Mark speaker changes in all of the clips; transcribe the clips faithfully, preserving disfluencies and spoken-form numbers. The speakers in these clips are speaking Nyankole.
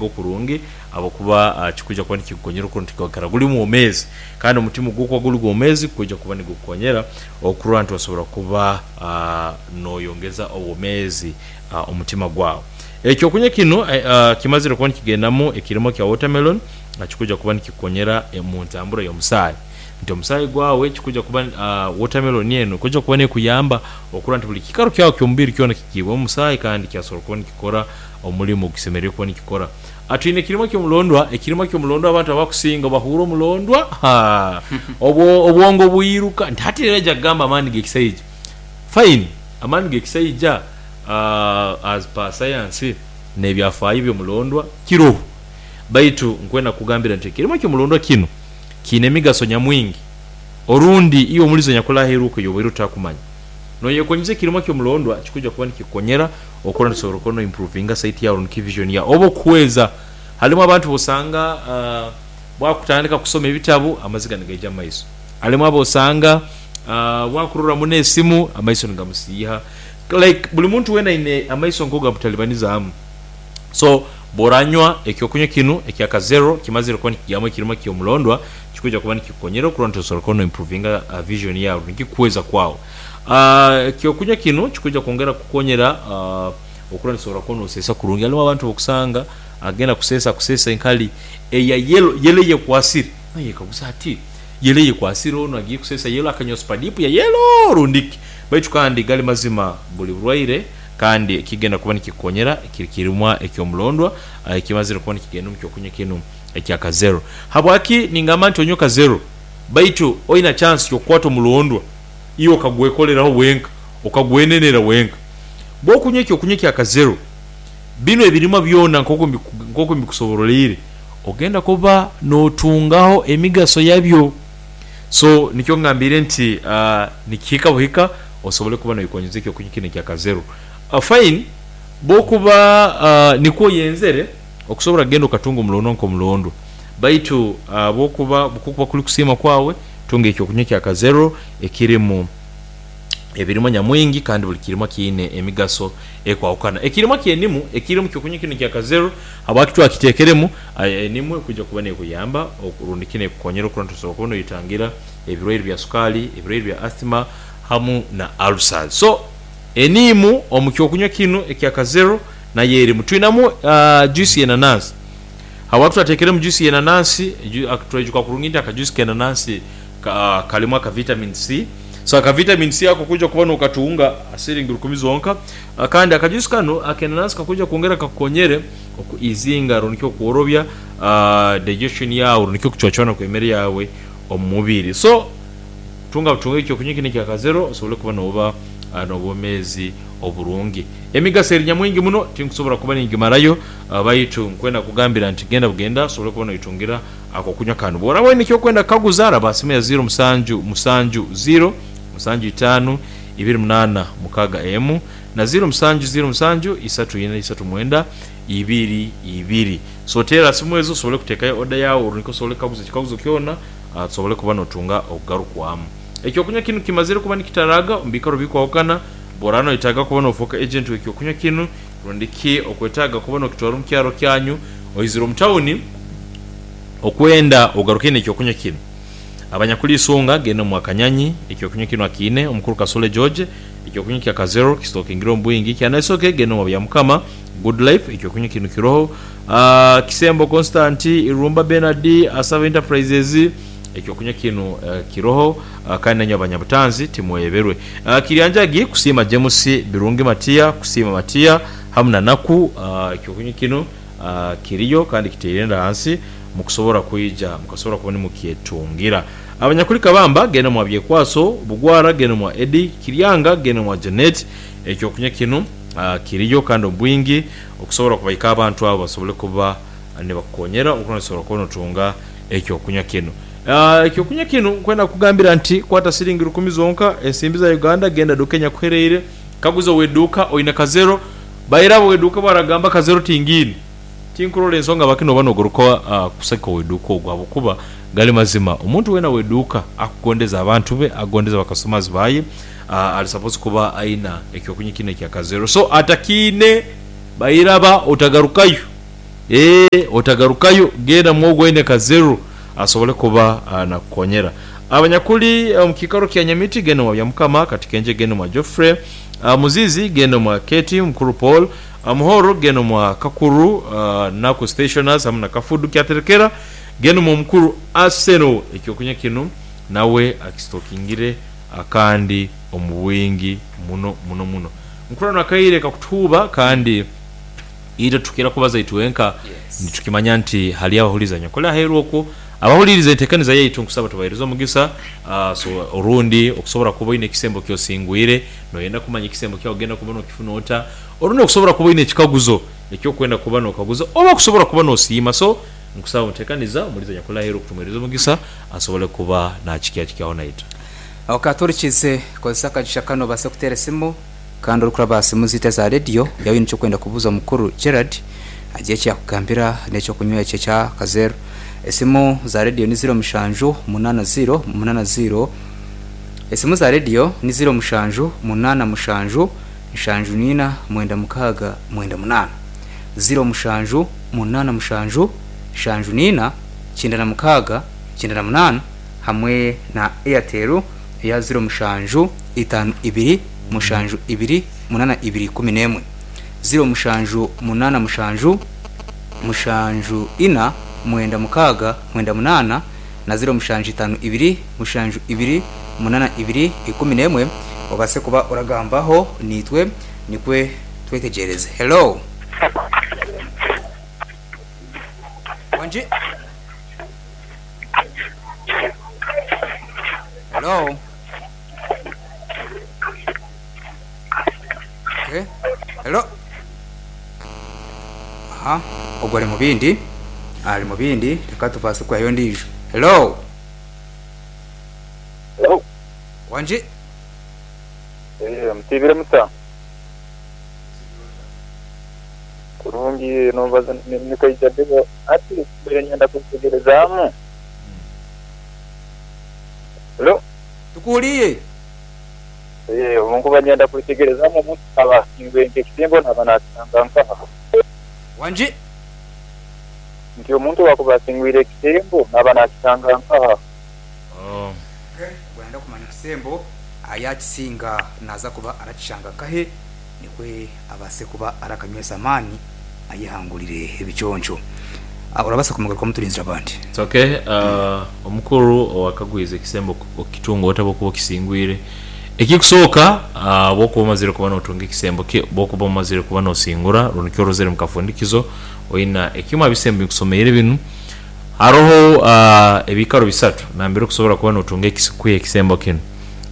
Speaker 1: Go kurungi ahabwokuba kikwiija kuba nikikukonyera okurora nti gwikara guri mwomeezi kandi omutima ogwokuba guri gwomeezi gukwija kuba nigukukonyera okurora nti wasobora kuba noyongeza obwomeezi omutima gwawe. Ekyokunywa kinu kimazire kuba nikigendamu ekirimo kya watermelon kikwija kuba nikikukonyera omuntambura y'omusaayi nti omusaayi gwawe kikwija kuba watermelon enu ekwija kuba nekuyamba okurora nti buli kiikaro kyawe ekyomubiri kyona kigiibwemu omusaayi kandi kyasobora kuba nikikora omulimo ogukisemeriire kuba nikikora. Twine ekirimo ky'omulondwa, ekirimo ky'omulondwa abantu abakusinga bahuura omulondwa haa obwongo bwiruka nti hati aija kugamba amaani g'ekisaija. Fine, amaani g'ekisaija as per science n'ebyafaayo by'omulondwa kiroho baitu nkwenda kukugambira nti ekirimo ky'omulondwa kinu kiine emigaso nyamwingi orundi iwe omulizi anyakuli aheeru okwo y'obaire otakumanya. Noyekonyeza ekirimo ky'omulondwa kikwija kuba nikikukonyera okurora nti osobola kuba no improvinga sight yawe rundi ki vision yawe oba okuhweza. Halimu abantu bosanga bwakutandika kusoma ebitabu amaziga nigaija mumaiso, halimu abosanga bwakurora muno esimu amaiso nigamusiiha like buli muntu weena aine amaiso nkoku gamutalibanizamu. So bworanywa ekyokunywa kinu ekya kazero kimazire kuba nikigyamu ekirimo kyomulondwa kikwija kuba nikikukonyera okurora nti osobola kuba no improvinga vision yawe rundi ki kuhweza kwawe. Ekyokunywa kinu kikwija kwongera kukukonyera okurora nti osobola kuba noseesa kurungi. Halimu abantu bokusanga agenda kuseesa akuseesa enkali eya yellow, yellow eyekwasire noyekaguza ati yellow eyekwasire onu agiire kuseesa yellow akanywa supadipu ya yellow rundi ki? Baitu kandi gali mazima buli burwaire kandi ekigenda kuba nikikukonyera kiri kirimwa ekyomulondwa ekimazire kuba nikigenda omukyokunywa kinu ekya kazero. Habwaki ningamba nti onywe kazero? Baitu oina chansi yokukwata omulondwa iwe okagwekoleraho wenka, okagwenenera wenka. Bwokunywa ekyokunywa ekya kazero, binu ebirimwa byona nkoku mbikusoboroleire ogenda kuba notungaho emigaso yabyo. So nikyo ngambiire nti nikihika buhika osobole kuba noyekonyeza ekyokunywa kinu ekya kazero. Fine bwokuba nikwo oyenzere okusobora kugenda okatunga omulondwa nkomulondwa baitu bwokuba kukuba kuli kusiima kwawe tunga ekyokunywa ekya kazero ekirimu ebirimwa nyamwingi kandi buli kirimwa kiine emigaso ekwahukana. Ekirimwa ky'enimu ekiri omukyokunywa kinu ekya kazero habwaki twakitekeremu, enimu ekwija kuba nekuyamba rundi ki nekukonyera okurora nti osobola kuba noyetangira ebirwaire bya sukaali, ebirwaire bya asthma hamu na ulcers. So eniimu omukyokunywa kinu ekya kazero nayo erimu. Twinamu juice y'enanansi. Habwaki twatekeremu juice y'enanansi? Twaijuka kurungi nti akajuice k'enanansi kalimu aka vitamin C. So aka vitamin C ako okwija kuba nokatunga siringi rukumi zonka. Kandi akajuice kanu ak'enanansi kakwija kwongera kakukonyere oku easinga rundi ki okworobya digestion yaawe rundi ki okucwacwana kw'emere yaawe omu mubiri. So tunga butunga ekyokunywa kinu ekya kazero osobole kuba nooba n'obwomeezi oburungi. Emigaso eri nyamwingi muno tinkusobora kuba ningimarayo baitu nkwenda kukugambira nti genda bugenda osobole kuba noitungira akokunywa kanu. Bworaba oine ekyokwenda kukaguza raba aha simu ya ziro musanju musanju ziro musanju itaanu ibiri munaana mukaaga emu na ziro musanju ziro musanju isatu ina isatu mwenda ibiri ibiri. So teera aha simu ezo osobole kuteekayo oda yaawe orundi osobole kukaguza ekikaguzo kyona osobole kuba notunga okugarukwamu. Ekyokunywa kinu kimazire kuba nikitaraaga omu biikaro bikwahukana. Bworaba noyetaaga kuba nofooka agent w'ekyokunywa kinu rundi ki okwetaaga kuba nokitwara omu kyaro kyanyu oizire omu tawuni okwenda ogaruke n'ekyokunywa kinu. Abanyakuli Isunga genda omu Akanyanyi ekyokunywa kinu akiine, omukuru Kasule George ekyokunywa kya Kazero kisitokingire omu bwingi, Kyanaisoke genda omu Byamukama, Good Life ekyokunywa kinu kiroho, Kisembo Constant, Irumba Bernard, Asaba Enterprises ekyokunywa kinu kiroho kandi nainywe abanyabutanzi timweberwe. Kiryanjagi Kusiima James, Birungi Matia, Kusiima Matia hamu na Naku ekyokunywa kinu kiriyo kandi kitaire enda ghansi mukusobora kwija mukasobora kuba nimukyetungira. Abanyakuli Kabamba genda mwa Byekwaso, Bugwara genda mwa Eddie, Kiryanga genda mwa Janet. Ekyokunywa kinu kiriyo kandi omu bwingi okusobora kubaika abantu abo basobole kuba nibakukonyera okuba nosobora kuba notunga ekyokunywa kinu. Ekyokunywa kinu nkwenda kukugambira nti kwata siringi rukumi zonka ensimbi za Uganda genda duka enyakuhereire kaguza oweduuka oine kazero bairaba oweduuka bwaragamba kazero tingiine tinkurora ensonga habwaki noba nogaruka kusagika oweduuka ogwo habwokuba gali mazima omuntu weena oweduuka akugondeza abantu be akugondeza bakasitomazi baye ali sapozi kuba aina ekyokunywa kinu ekya kazero so atakiine bairaba otagarukayo. Eh, otagarukayo, genda mwogo oine Kazero asobole kuba uh, nakukonyera. Abanyakuli omu kiikaro kya Nyamiti, genda mwa Byamukama. Katikenje, genda mwa Geoffrey. uh, Muzizi, genda mwa Keti Mukuru Paul. uh, Muhoro, genda mwa Kakuru. uh, Naku Stationers hamu na Kafudu Kyaterekera, genda mwa Mukuru Arsenal. Ekyokunywa kinu nawe akistokingire akandi omu bwingi muno muno muno. Mukuru, nakaire kakutuuba, kandi ita tukira kubaza itwenka.
Speaker 2: Yes.
Speaker 1: Nitukimanya nti hali abahuliza nyakole aheru okwo abahuliriza entekaniza yaitu, nkusaba tubahereze omugisa. uh, so orundi okusobora kuba oine ekisembo kyosingwire, noyenda kumanya ekisembo kyawe ogenda kuba nokifuna ota, orundi okusobora kuba oine ekikaguzo ekyokwenda kuba nokaguza, oba okusobora kuba nosiima. So nkusaba mutekaniza omuliza nyakole aheru okutumuhereza omugisa asobole kuba nakikyakikyaho naitwe.
Speaker 2: Okaturikize, kozesa akagisha kano obase kuteera esimu, kandi orikuraba aha simu ziitu eza rediyo yaaba oine ekyokwenda kubuuza mukuru Gerard, agire ekyakugambira n'ekyokunywa ekyo ekya Kazero. Esimu za rediyo ni ziro mushanju munaana ziro munaana ziro, esimu za rediyo ni ziro mushanju munaana mushanju nshanju nina mwenda mukaaga mwenda munaana, ziro mushanju munaana mushanju nshanju nina kyenda na mukaaga kyenda na munaana, hamwe na Airtel eya ziro mushanju itaano ibiri mushanju ibiri munaana ibiri kumi n'emwe, ziro mushanju munaana mushanju mushanju ina mwenda mukaaga mwenda munaana na ziro mushanju itaano ibiri mushanju ibiri munaana ibiri ikumi n'emwe. Obase kuba oragambaho nitwe nikwe twetegereze. Hello, wanji? Hello. Okay. Hello. Aha, ogwo ari mu bindi, ari mu bindi, reka tubase kuhayo ndijo. Hello.
Speaker 3: Hello.
Speaker 2: Wanji?
Speaker 3: Eh, mutibire muta. Kurungi, nobaza nikaija debo ati mbere nyenda kutegerezamu. Hello.
Speaker 2: Tukuhuriye.
Speaker 3: Eh, omunkuba nyenda kutegerezamu, omuntu aba ingwe ekisembo naba natanga nkaha?
Speaker 2: Wanji?
Speaker 3: Nti omuntu wakuba asingwire ekisembo naba nakitanga nkaha?
Speaker 1: Oh.
Speaker 2: Okay. Gwenda kumanya ekisembo ayakisinga naza kuba arakishanga kahe, nikwe abase kuba arakanywesa amaani ayehangurire ebiconco. Ah, urabasa kumugaruka muturinzira abandi.
Speaker 1: It's okay. uh, omukuru owakagwiza ekisembo okitunga ota bwokuba okisingwire? Ekikusooka, uh, bwokuba omazire kuba notunga ekisembo, bwokuba omazire kuba nosingura rundi kyorozere mukafundikizo oyina ekimu abisembo bikusomeire binu, haroho uh, ebikaro bisatu nambere okusobora kuba notunga ekisi- ekisembo kinu.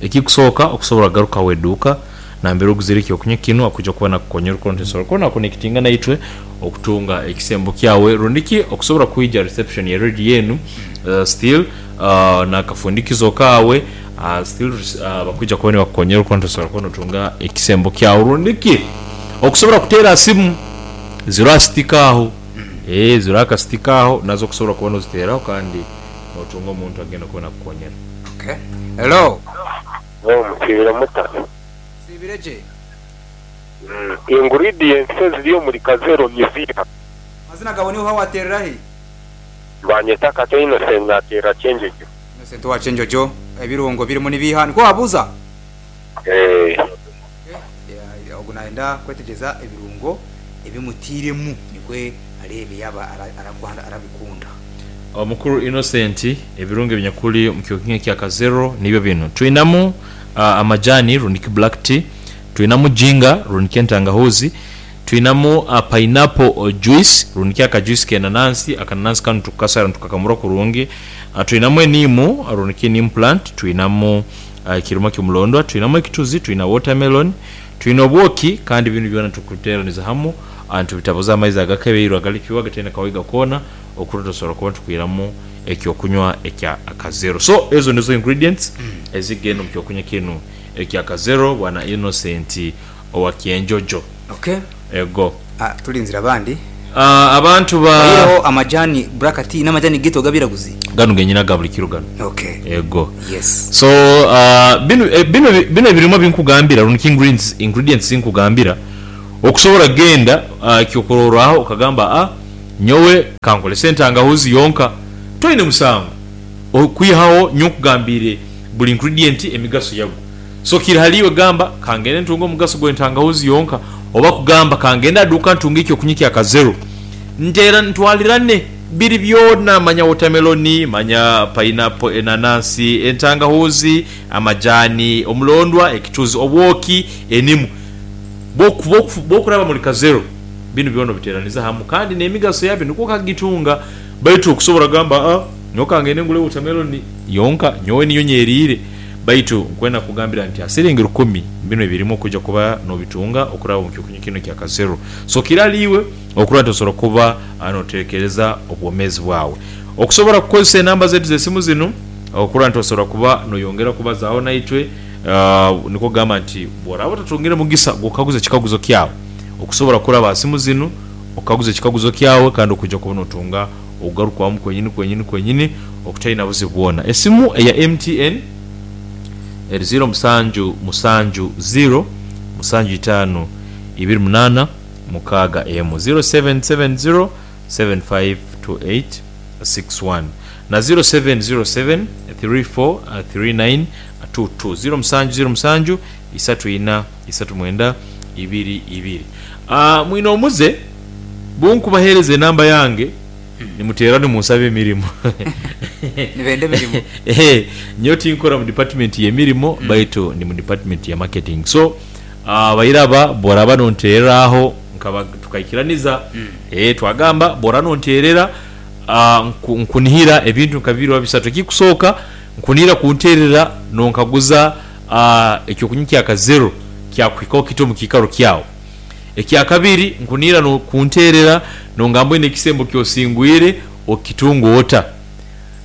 Speaker 1: Ekikusooka, okusobora kugaruka weduuka nambere oguzire ekyokunywa kinu, akuja kuba nakukonyera okurora nti osobola kuba nakonekitinga naitwe okutunga ekisembo kyawe, rundiki okusobora kwija reception ya radio yenu, uh, still uh, nakafundikizo kawe, uh, still uh, bakwija kuba nibakukonyera okurora nti osobola kuba notunga ekisembo kyawe, rundiki okusobora kuteera simu ziro asitika aho, eh ziro akasitika aho, nazo okusobora kuba noziteeraho kandi notunga omuntu agenda kuba nakukonyera.
Speaker 2: Okay. Hello.
Speaker 4: No, mutibire muta.
Speaker 2: Sibireje.
Speaker 4: Ingredients eziri omuri Kazero niziha?
Speaker 2: Mazina gawe niho waterera he?
Speaker 4: Banyeta Kato Innocent, natera Kyenjojo.
Speaker 2: Innocent wa Kyenjojo, ebirungo birimu nibiha niko wabuza?
Speaker 4: Eh.
Speaker 2: Yeah, ogu nayenda kwetegeza ebirungo ebimutiremu nikwe arebe yaba ara- arakwanda arabikunda.
Speaker 1: Omukuru Innocent, ebirungo ebinyakuli omu kyokunywa kya Kazero nibyo binu: twinamu uh, amajani rundiki black tea, twinamu ginger rundiki entangahuzi, twinamu uh, pineapple juice rundiki akajuice kenanansi, akananasi kanu tukasara tukakamura kurungi, uh, twinamu enimu rundiki neem plant, twinamu uh, ekiruma kyomulondwa, twinamu ekituzi, twina watermelon, twina obwoki, kandi binu byona tukuteraniza hamu, uh, ntubitabuza amaizi agakabeirwe agalikiwa gataine kawiga koona okurora tusobora kuba tukwiramu ekyokunywa ekya Akazero. So ezo nizo ingredients ezigenda omu kyokunywa kinu ekya Kazero, bwana Innocent owa Kyenjojo.
Speaker 2: Okay.
Speaker 1: Ego.
Speaker 2: Ah, tulinzira abandi.
Speaker 1: uh, abantu ba
Speaker 2: Oyireho amajani black tea n'amajani gito gabiraguzi.
Speaker 1: Gano genyina ga buli kiro gano.
Speaker 2: Okay.
Speaker 1: Ego.
Speaker 2: Yes.
Speaker 1: So uh, bino eh, bino bino ebirimu binkugambira runiki ingredients ingredients zinkugambira, okusobora genda uh, kyokurorwaho okagamba, a Nyowe kankolese entangahuzi yonka, toine musango okwihaho nyowe nkugambire buli ingredient emigaso yagwo. So kiri haliiwe gamba kangende ntunge omugaso gw'entangahuzi yonka, oba kugamba kangende aduuka ntunge ekyokunywa kya kazero ntera ntwalirane biri byona, manya watermelon, manya pineapple, enanansi, entangahuzi, amajani, omulondwa, ekituzi, obwoki, enimu. Bwokuraba muri kazero binu byona obiteraniza hamu kandi n'emigaso yabyo nikwo okagitunga. Baitu okusobora kugamba a nyowe kangende ngule watermelon yonka nyowe niyo nyeriire, baitu nkwenda kugambira nti asiringi rukumi bino ebirimu okuja kuba nobitunga okuraba omu kyokunywa kinu ekya kazero. So kiraliiwe okuraba nti osobola kuba noterekereza obwomezi bwawe. Okusobora kukozesa enamba zetu z'esimu zinu okuraba nti osobola kuba noyongera kubazaaho naitwe, uh, nikwo kugamba nti bworaba otatungire mugisa gw'okukaguza ekikaguzo kyawe, okusobora kuraba simu zinu okaguza ekikaguzo kyawe kandi okuja kuba notunga okugarukwamu kwenyini kwenyini kwenyini okutaina buzibu bwona. Esimu eya M T N eri ziro musanju musanju ziro musanju itaano ibiri munana mukaaga emu, ziro seven seven zero seven five two eight six one na ziro seven ziro seven three four three nine two two, ziro musanju ziro musanju isatu ina isatu mwenda ibiri ibiri. Uh, mwine omuze bunkubahereza enamba yange nimuteera nimunsaba emirimu.
Speaker 2: Nibenda emirimu.
Speaker 1: Eh, nyowe tinkora mu department y'emirimo, baitu ndi mu department ya marketing. So uh, bairaba bworaba nontereraho nkaba tukaikiraniza, eh, twagamba bwora nonterera, uh, nkunihira ebintu nka bibiri oba bisatu. Ekikusooka nkunihira kunterera nonkaguza uh, ekyokunywa kya kazero kyakuhikaho kiti omu kiikaro kyawe. Ekyakabiri nkunihira no kunterera nongamba oine ekisembo kyosingwire okitunga ota.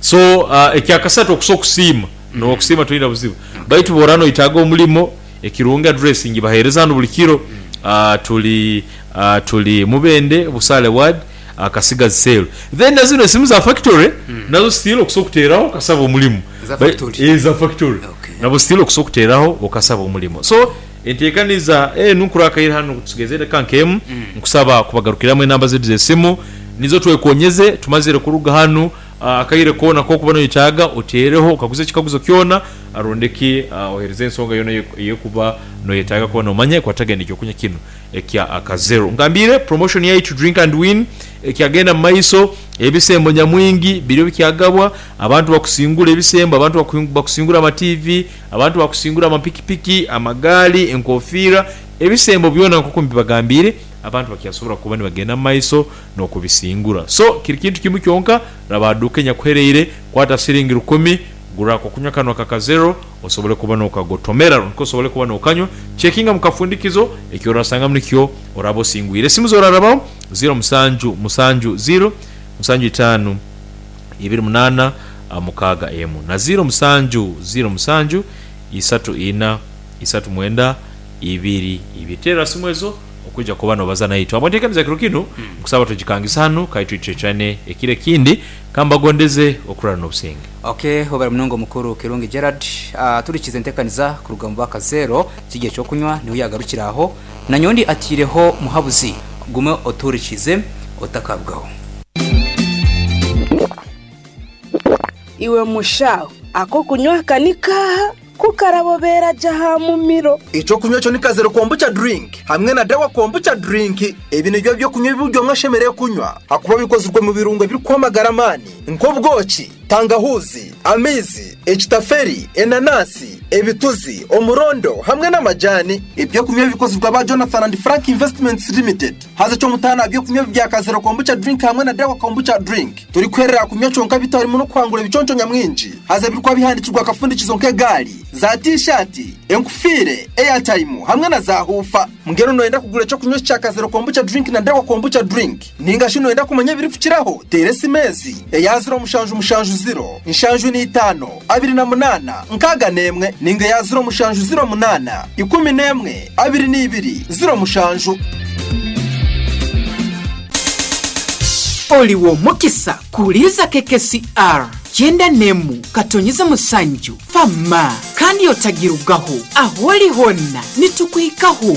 Speaker 1: So uh, ekyakasatu okusobola okusiima, nokusiima toina buzibu. Baitu bwora noitaaga omulimo ekirungi address ngibahereza hano buli kiro. Uh, tuli uh, tuli Mubende Busale ward, uh, Kasigazi sale. Then na zino esimu za factory nazo still okusobola okuteraho okasaba omulimu.
Speaker 2: Za factory.
Speaker 1: Eh, za factory.
Speaker 2: Okay.
Speaker 1: Nabo still okusobola okuteraho okasaba omulimu. So entekaniza enu nkurakaire hano tusigeze edaka nkemu, nkusaba kubagarukiramu enamba zetu z'esimu nizo twekonyeze. Tumazire kuruga hanu, akaire koona kokuba noyetaaga oteereho okaguza ekikaguzo kyona arondeki, uh, ohereze ensonga yona eyekuba noyetaaga kuba nomanya ekwatagana ekyokunywa kinu ekya akazero. Ngambire promotion yaitu drink and win ekyagenda mu maiso, ebisembo nyamwingi biriyo bikyagabwa, abantu bakusingura ebisembo, abantu bakusingura ama T V, abantu bakusingura amapikipiki, amagaali, enkofiira, ebisembo byona nkoku mbibagambire abantu bakyasobora kuba nibagenda mu maiso n'okubisingura. So kiri kintu kimu kyonka, rabaduka enyakuhereire kwata siringi rukumi gura kunywa kano kakazero osobole kuba nokagotomera nko osobole kuba nokanywa. Checkinga mukafundikizo ekyorasanga nikyo oraba osingwire. Esimu zorarabaho ziro musanju musanju ziro musanju itaano ibiri munana mukaaga emu na ziro musanju ziro musanju isatu ina isatu mwenda ibiri ibiri. Tera simu ezo okuja kuba nobaza naitwe. Abontekaniza kiro kino nkusaba tugikangisa hano kaitwitwetane ekire kindi kambagondeze okurara n'obusenge.
Speaker 2: Okay, obara munongo mukuru Kirungi Gerard, uh, turikize entekaniza kuruga mu baka zero kigiye cyo kunywa niho yagarukiraho na nyondi atireho muhabuzi gume oturikize otakabwaho.
Speaker 5: Iwe mushaho ako kunywa kanika kukarabobera jaha mumiro.
Speaker 6: Ico kunywa cyo ni kazero kombucha drink hamwe na dawa kombucha drink. Ebi nibyo byo kunywa ibyo mwashemereye kunywa hakuba bikozwe mu birungo biri kwamagara mani nk'obwoki, tangahuzi, amizi, ekitaferi, enanasi, ebituzi, omurondo hamwe n'amajani. Ibyo kunywa bikozwe ba Jonathan and Frank Investments Limited. Haza cyo mutana byo kunywa bya kazero kombucha drink hamwe na dawa kombucha drink. Turi kwerera kunywa cyonka bitarimo no kwangura ibiconco nyamwinji. Haza birikwa bihandikirwa akafundikizo nk'egali, za t-shirt, enkufire, airtime hamwe na za hufa. Mngero noenda kugura cyo kunywa cya kazero kombucha drink na dawa kombucha drink. Ninga shino enda kumenya biri kukiraho teresi mezi eya zero mushanju mushanju zero inshanju ni itano abiri na munana nkaga nemwe ninga ya zero mushanju zero munana ikumi nemwe abiri n'ibiri zero mushanju.
Speaker 7: Oliwo mukisa kuliza K K C R kyenda nemu katonyiza musanju fama kandi otagirugaho aholi honna nitukwikaho.